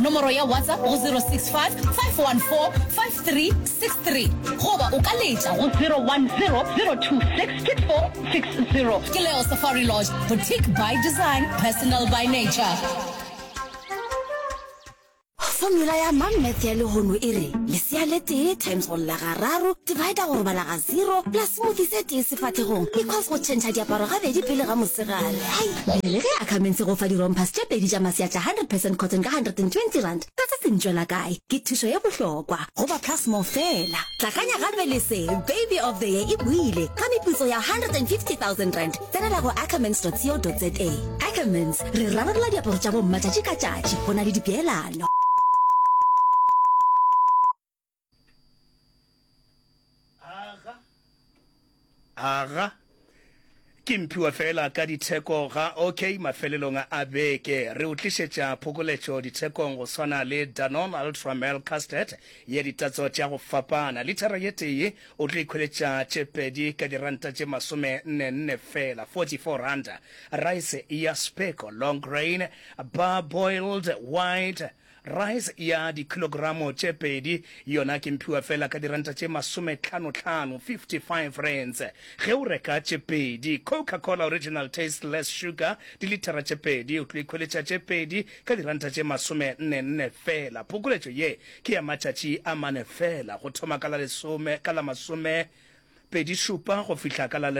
Nomoro ya WhatsApp go 065 514 5363 goba o ka letša go 010 026 6460. Ke Leo Safari Lodge, boutique by design, personal by nature. Formula ya Mom Math ya lehono e re, lesea le tee times go lla gararo, divider go robala ga zero, plus smoothie se tee sefahlegong, equals go tšhentšha diaparo gabedi pele ga mosegare. Hai! Bjale ge Ackermans e go fa di-rompers tše pedi tša masea tša 100 percent cotton ka R120, ka se se ntšwela kae? Ke thušo ye bohlokwa go ba Plus More feela. Tlakanya gape le se, Baby of the Year e boile ka meputso ya R150 000. Tsenela go ackermans.co.za. Ackermans, re rarolla diaparo tša bomma tšatši ka tšatši go na le dipeelano. Aga. Aga. Ke mphiwa fela ka ditheko ga OK mafelelong a beke. Re o tlišetša phokoletšo dithekong go swana le Danone Ultra Milk Custard ye ditatso tša go fapana. Lithara ye tee o tlo ikhweletša tše pedi ka diranta tše masome nne nne fela, 44 ranta. Rice ya Speko Long Grain Parboiled White Rice ya dikhilogramo tše pedi yona ke mphiwa fela ka diranta tše masometlhanotlhano, 55 rands, ge o reka tše pedi. Coca-Cola Original Taste Less Sugar dilithara tše pedi o tlo ikhweletša tše pedi ka diranta tše masomenne-nne fela. Phokoletšo ye ke ya matšatši a mane fela, go thoma ka la lesome, ka la masomepedi-šupa go fihla ka la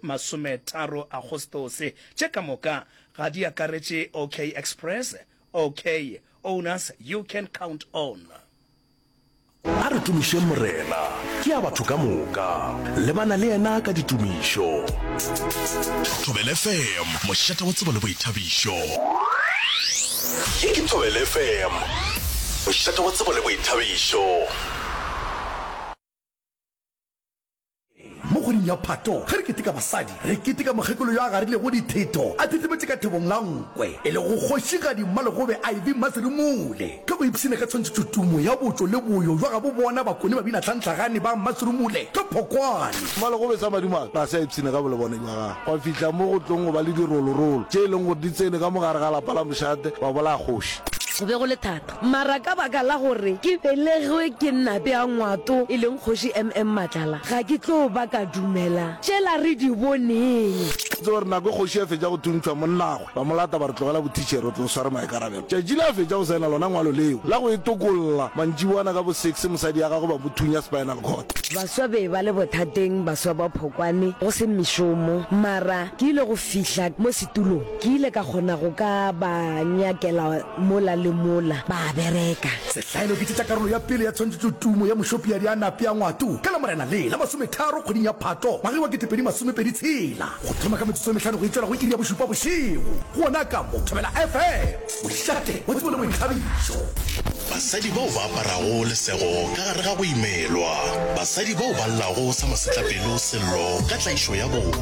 masometharo Agostose. Tše ka moka ga di akaretše OK Express, OK, owners you can count on. A re tumišeng Morena, ke ya batho ka moka. Lebana le yena ka ditumišo. Thobela FM, mošate wa tsebo le boithabišo. Ye ke Thobela FM, mošate wa tsebo le boithabišo. Mo kgweding ya Phato, ge re keteka basadi, re keteka mokgekolo yo a garilego dithetho a thethemetše ka thebong la nkwe, e lego Kgošigadi Mmalegobe Ivy Mmaserumule. Ka go ipshina ka tshwantšhetšotumo ya botšo le boyo bja gabo bona Bakone Babinatlhantlhagane ba Mmaserumule ka Phokwane. Mmalegobe sa madimabe ga se a ipshina ka bolebone bja gagwe, gwa fihla mo go tlong go ba le dirolorolo tše e leng gore di tsene ka mo gare ga lapa la mošate ba bolaya kgoši. Go be go le thata. Mara ka baka la gore ke belegwe ke Nape a Ngwato, e leng Kgoši MM Matlala, ga ke tlo ba ka dumela tšela re di boneng. Tseba gore nako e kgoši a fetša go thuntšhwa monnagwe, ba mo lata ba re tlogela bothitšhere o tlo sware maikarabelo. Tšatši le a fetša go saena lona ngwalo leo la go e tokolla, mantšiboana ka bo six mosadi ya gagwe ba mo thunya spinal cord. Baswa be ba le bothateng, baswa ba Phokwane, go se mešomo. Mara ke ile go fihla mo setulong, ke ile ka kgona go ka ba nyakela Mola le mola ba a bereka. Sehlaelo ke tše tša karolo ya pele ya tshwantšhetšotumo ya Mošopiadi a Nape a Ngwato ka Lamorena le la masometharo kgweding ya Phato ngwageng wa 2026 go thoma ka metsotso e mehlano go itšwela go iri ya bošupa bošego gona ka mo Thobela FM, mošate wa tsebo le boithabišo. Basadi bao ba aparago lesego ka gare ga go imelwa. Basadi bao ba llago sa masetlapelo sello ka tlaišo ya bong.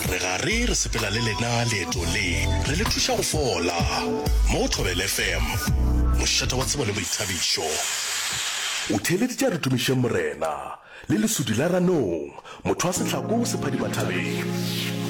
Re gare re sepela le lena leeto le, re le thuša go fola. Mo go Thobela FM, mošate wa tsebo le boithabišo. O theeleditše a re tumišeng Morena, le lesudi la ranong, motho wa sehlako se phadima thabeng.